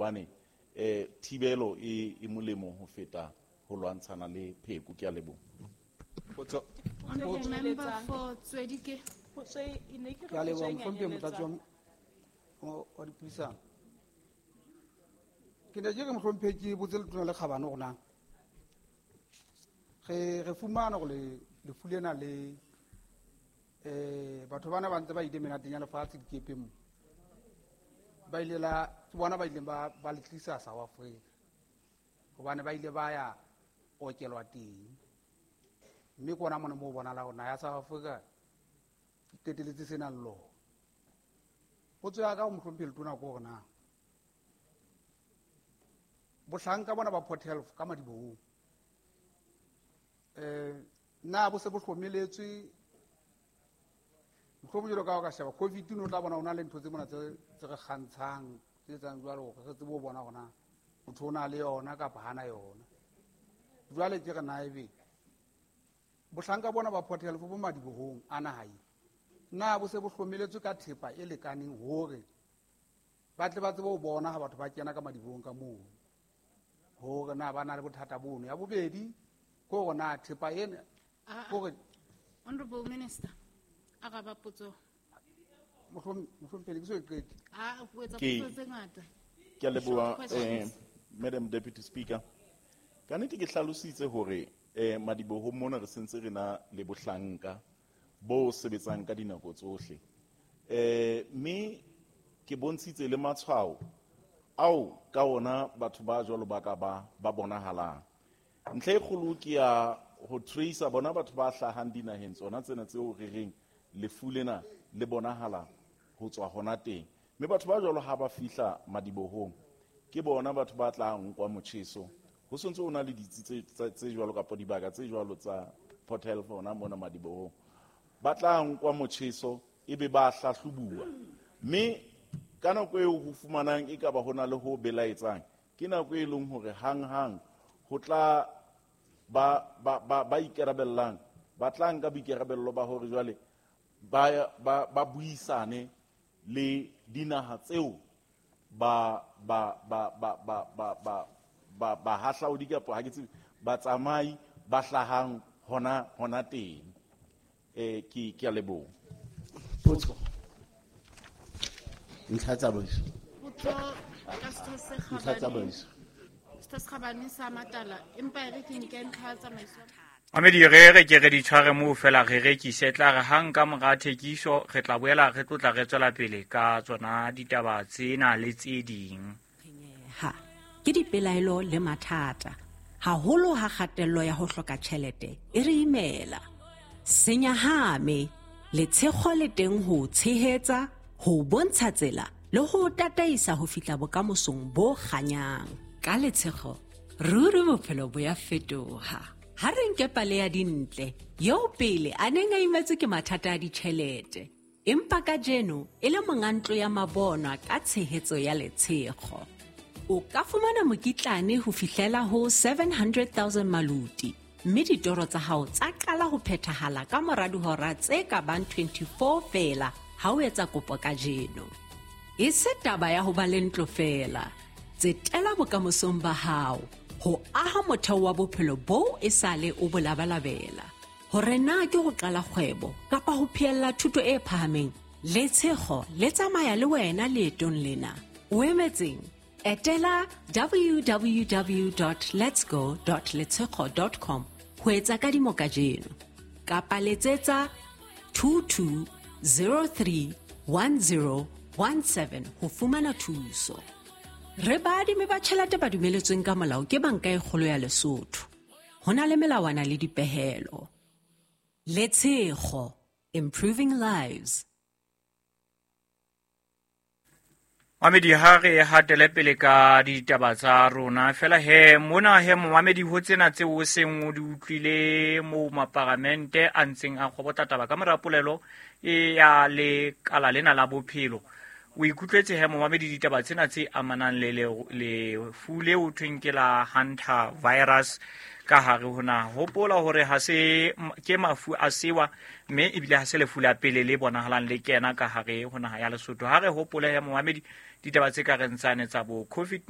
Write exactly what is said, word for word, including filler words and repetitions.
Hobane eh thibelo e e molemo ho feta ho lwantshana le pheko. Ke a leboha. Potso. Honorable member for Tswedike. Potso e e ne ke re Ke a potso leboha e mohlomphehi motlatsi wa nyanyeletsang. mo- wa dipuisano. Ke ne ke re mohlomphehi ke botse letona le kgabane hore na re re fumana hore le lefu lena le eh batho bana ba ntse ba ile menateng ya lefatshe dikepeng mo. Ba ile la ke bona ba ileng ba ba le tlisa South Africa. Hobane ba ile ba ya okelwa teng. Mme ke ona mona moo bonahala hore naha ya South Africa e qetelletse se nang lona. Potso ya ka ho mohlomphehi letona ke hore na bohlanka bona ba Port Health ka madibohong eh na bo se bo hlomeletswe mohlomong jwalo ka ha o ka sheba COVID no tla bona ho na le ntho tse mona tse tse re kgantshang tse etsang jwalo hore re tsebe ho bona hore na motho o na le yona kapa hana yona. Jwale ke re na ebe bohlanka bona ba Port Health bo madibohong a naha e na bo se bo hlomeletswe ka thepa e lekaneng hore ba tle ba tsebe ho bona ha batho ba kena ka madibohong ka moo hore na ba na le bothata bono. Ya bobedi ke hore na thepa ena Ah, ah. hore Honorable Minister, araba potso. Mohlom-, mohlomphehi ke so e qete. Ah, o etsa Ke potso tse ngata. Ke a leboha, Short questions. eh, Madam Deputy Speaker. Ka nnete ke hlalositse hore eh madibohong mona re sentse re na le bohlanka bo sebetsang ka dinako tsohle. Eh mme ke bontshitse le matshwao ao ka ona batho ba jwalo ba ka ba ba bonahalang. Ntlha e kgolo ke ya ho tracer bona batho ba hlahang dinaheng tsona tsena tseo re reng lefu lena le bonahala ho tswa hona teng. Mme batho ba jwalo ha ba fihla madibohong ke bona batho ba tla nkwa motjheso. Ho sontse ho na le ditsi tse, tse, tse jwalo kapa dibaka tse jwalo tsa Port Health hona mona madibohong. Ba tla nkwa motjheso ebe ba hlahlobuwa. Mme ka nako eo ho fumanang e ka ba hona le ho belaetsang, ke nako e leng hore hang-hang ho tla ba, ba, ba, ba ikarabellang, ba tla nka boikarabello ba hore jwale ba, ba, ba buisane le dinaha tseo ba, ba, ba, ba, ba, ba, ba, ba, bahahlaodi kapa ha ke tsebe, batsamai ba hlahang hona, hona teng. Eh, ke, ke a leboha. Potso. Ntlha tsa tsamaiso. Potso ka Setho se Ntlha tsa Kgabane. tsamaiso. Setho se Kgabane sa Matala, empa e re ke nke ntlha ya tsamaiso. Mamedi, re re ke re di tshware moo fela re rekise, tla re hang ka mora thekiso re tla boela re tlotla re tswela pele ka tsona ditaba tsena le tse ding. Ha ke dipelaelo le mathata, haholo ha kgatello ya ho hloka tjhelete e re imela. Senyahame, letshego le teng ho tshehetsa, ho bontsha tsela le ho tataisa ho fihla bokamosong bo kganyang. Ka letshego, ruri bophelo bo ya fetoha. Ha re nke pale ya Dintle, eo pele a neng a imetswe ke mathata a ditjhelete, empa kajeno e le monga ntlo ya mabonwa ka tshehetso ya letshego. O ka fumana mokitlane ho fihlela ho seven hundred thousand maluti, mme ditoro tsa hao tsa qala ho phethahala ka mora dihora tse ka bang twenty-four feela ha o etsa kopo kajeno. E se taba ya ho ba le ntlo feela, tsetela bokamosong ba hao ho aha motheo wa bophelo boo e sale o bo labalabela. Hore na ke ho qala kgwebo kapa ho phehella thuto e phahameng, letshego le tsamaya le wena leetong lena. O emetseng? Etela w w w dot letsgo dot letshego dot com ho etsa kadimo kajeno. Kapa letsetsa two two zero three one zero one seven ho fumana thuso. Re baadimi ba tjhelete ba dumeletsweng ka molao ke Banka e Kgolo ya Lesotho. Ho na le melawana le dipehelo. Letshego, improving lives. Mamedi, ha re hatele pele ka ditaba tsa rona fela he mona he momamedi ho tsena tseo o seng o di utlwile moo maparamente a ntseng a kgobotla taba ka mora polelo e ya lekala lena la bophelo. O ikutlwetse he momamedi ditaba tsena tse amanang le lefu leo thweng ke la Hunter virus ka hare ho naha. Hopola hore ha se ke mafu a sewa mme ebile ha se lefu la pele le bonahalang le kena ka hare ho naha ya Lesotho. Ha re hopole he momamedi ditaba tse ka reng tsane tsa bo COVID